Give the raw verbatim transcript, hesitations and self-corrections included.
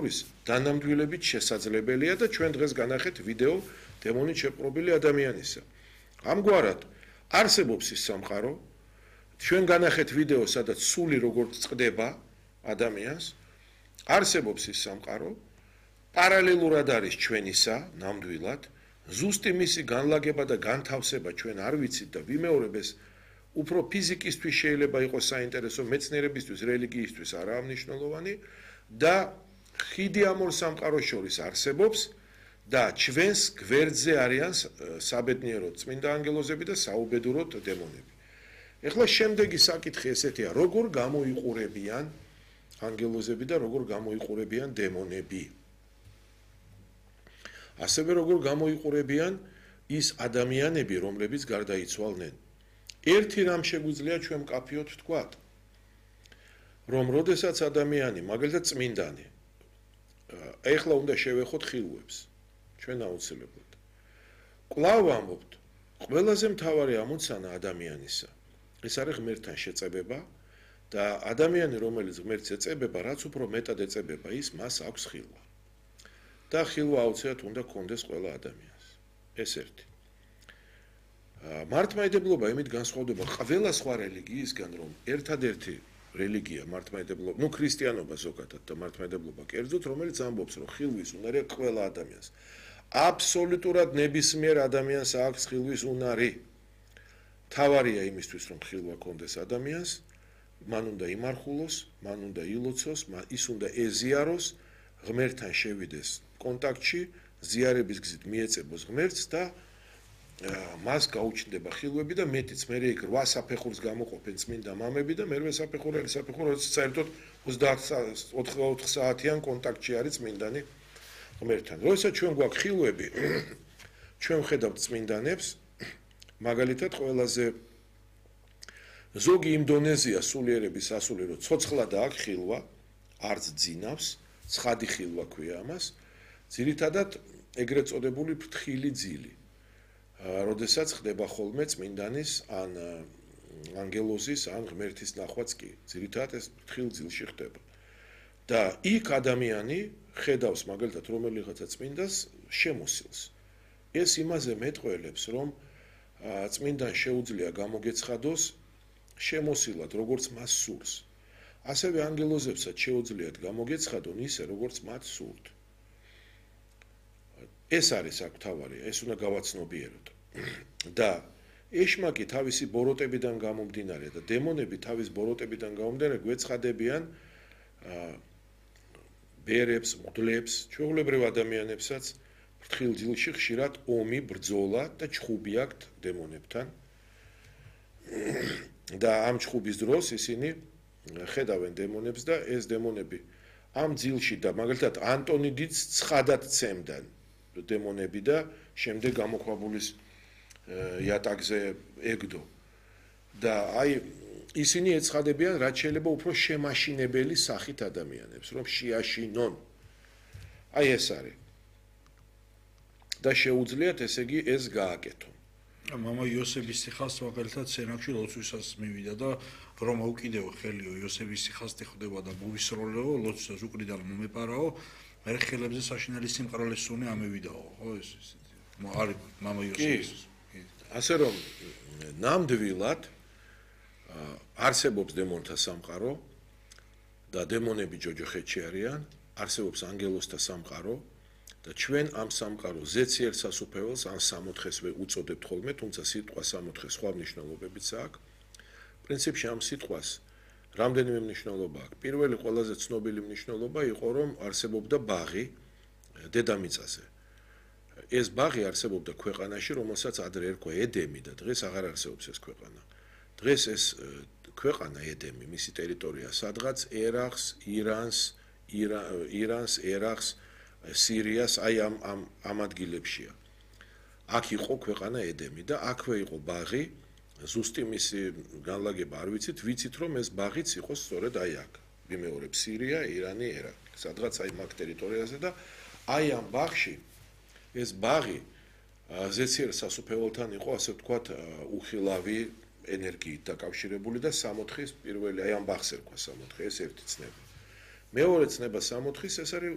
ის დანამდვილებით შესაძლებელია და ჩვენ დღეს განახეთ ვიდეო დემონით შეპყრობილი ადამიანისა. ამგვარად არსებობს ის სამყარო, ჩვენ განახეთ ვიდეო, სადაც სული როგორც წყდება ადამიანს, არსებობს ის სამყარო, პარალელურად არის ჩვენისა, ნამდვილად, ზუსტი მისი განლაგება და განთავსება ჩვენ არ ვიცით და ვიმეორებ ეს უფრო ფიზიკისთვის შეიძლება იყოს საინტერესო, მეცნიერებისთვის, რელიგიისთვის არაა მნიშვნელოვანი და ხიდი ამ ორ სამყაროს შორის არსებობს და ჩვენს გვერდზე არიან საბედნიეროდ წმინდა ანგელოზები და საუბედუროდ დემონები. ეხლა შემდეგი საკითხი ესეთია, როგორ გამოიყურებიან ანგელოზები და როგორ გამოიყურებიან დემონები. ასევე როგორ გამოიყურებიან ის ადამიანები, რომლებიც გარდაიცვალნენ. ერთი რამ შეგვიძლია ჩვენ მკაფიოდ ვთქვათ, რომ როდესაც ადამიანი, მაგალითად წმინდანი, ეხლა უნდა შევეხოთ ხილვებს, ჩვენ აუცილებლად. კვლავ ვამბობთ, ყველაზე მთავარი ამოცანა ადამიანისა, ეს არის ღმერთთან შეწებება და ადამიანი, რომელიც ღმერთს ეწებება, რაც უფრო მეტად ეწებება, ის მას აქვს ხილვა. და ხილვა აუცილებლად უნდა კონდეს ყველა ადამიანს. ეს ერთი. მართლმადიდებლობა იმით განსხვავდება ყველა სხვა რელიგიისგან, რომ ერთადერთი რელიგია მართლმადიდებლობა, ну ქრისტიანობა ზოგადად და მართლმადიდებლობა კერძოდ, რომელიც ამბობს, რომ ხილვის უნარი აქვს ყველა ადამიანს. აბსოლუტურად ნებისმიერ ადამიანს აქვს ხილვის უნარი. თავარია იმისთვის, რომ ხილვა კონდეს ადამიანს, მან უნდა იმარხულოს, მან უნდა ილოცოს, ის უნდა ეზიაროს, ღმერთთან შევიდეს კონტაქტში, ზიარების გზით მიეწებოს ღმერთს და მას გაუჩნდება ხილვები და მეტიც მე იქ რვა საფეხურს გამოყოფენ წმინდა მამები და მერვე საფეხური არის საფეხური, როცა საერთოდ ოცდაოთხ საათიან კონტაქტში არის წმინდანი ღმერთთან. როცა ჩვენ გვაქვს ხილვები, ჩვენ ვხედავთ წმინდანებს, მაგალითად ყველაზე ზოგი იმ დონეზია სულიერების ასული, რომ ცოცხლად აქვს ხილვა, არც ძინავს, ცხადი ხილვა ქვია ამას, ძირითადად ეგრეთ წოდებული ფრთხილი ძილი. როდესაც ხდება ხოლმე წმინდანის ან ანგელოზის ან ღმერთის ნახვაც კი, ძირითადად ეს ფრთხილ ძილში ხდება. და იქ ადამიანი ხედავს მაგალითად რომელიღაცა წმინდას შემოსილს. ეს იმაზე მეტყველებს, რომ წმინდან შეუძლია გამოგეცხადოს შემოსილად, როგორც მას სურს. ასევე ანგელოზებსაც შეუძლიათ გამოგეცხადონ ისე, როგორც მათ სურთ. ეს არის აქ თავარია, ეს უნდა გავაცნობიეროთ. და ეშმაკი თავისი ბოროტებიდან გამომდინარე და დემონები თავის ბოროტებიდან გამომდინარე გვეცხადებიან ბერებს, მღვდლებს, ჩვეულებრივ ადამიანებსაც ფრთხილ ძილში ხშირად ომი, ბრძოლა და ჩხუბი აქვთ დემონებთან. და ამ ჩხუბის დროს ისინი ხედავენ დემონებს და ეს დემონები ამ ძილში და მაგალითად ანტონი დიდს ცხადად ცემდნენ დემონები და შემდეგ გამოქვაბულის იატაკზე ეგდო. და აი ისინი ეცხადებიან, რაც შეიძლება უფრო შემაშინებელი სახით ადამიანებს, რომ შეაშინონ. აი ეს არის. და შეუძლიათ ესე იგი ეს გააკეთონ. მამა იოსების სიხას მაგალითად სენაკში ლოცვისას მივიდა და რომ აუკიდეო ხელიო იოსების სიხასტი ხდება და მოვისროლეო ლოცვას უკრიდან მომეპარაო მე ხელებზე საშინელი სიმყრალეს სუნი ამევიდაო ხო ეს არის მამა იოსების ასე რომ ნამდვილად არსებობს დემონთა სამყარო და დემონები ჯოჯოხეთში არიან, არსებობს ანგელოზთა სამყარო და ჩვენ ამ სამყაროს ზეციერ სასუფეველს ან სამოთხეს უწოდებთ ხოლმე, თუმცა სიტყვა სამოთხე სხვა მნიშვნელობებიც აქვს. პრინციპში ამ სიტყვას რამდენიმე მნიშვნელობა აქვს. პირველი ყველაზე ცნობილი მნიშვნელობა იყო, რომ არსებობდა ბაღი დედამიწაზე. ეს ბაღი არსებობდა ქვეყანაში, რომელსაც ადრე ერქვა ედემი და დღეს აღარ არსებობს ეს ქვეყანა. დღეს ეს ქვეყანა ედემი, მისი ტერიტორია სადღაც ერაყს, ირანს, ირანს, ერაყს, სირიას, აი ამ ამ ამ ადგილებშია. აქ იყო ქვეყანა ედემი და აქვე იყო ბაღი, ზუსტი მისი განლაგება არ ვიცით, ვიცით რომ ეს ბაღიც იყო სწორედ აი აქ. ვიმეორებ სირია, ირანი, ერაყი, სადღაც აი მაგ ტერიტორიაზე და აი ამ ბაღში ეს ბაღი ზეციერ სასუფეველთან იყო, ასე ვთქვათ, უხილავი ენერგიით დაკავშირებული და სამოთხის პირველი აი ამ ბაღს ერქვა სამოთხე, ეს ერთი ცნება. მეორე ცნება სამოთხის ეს არის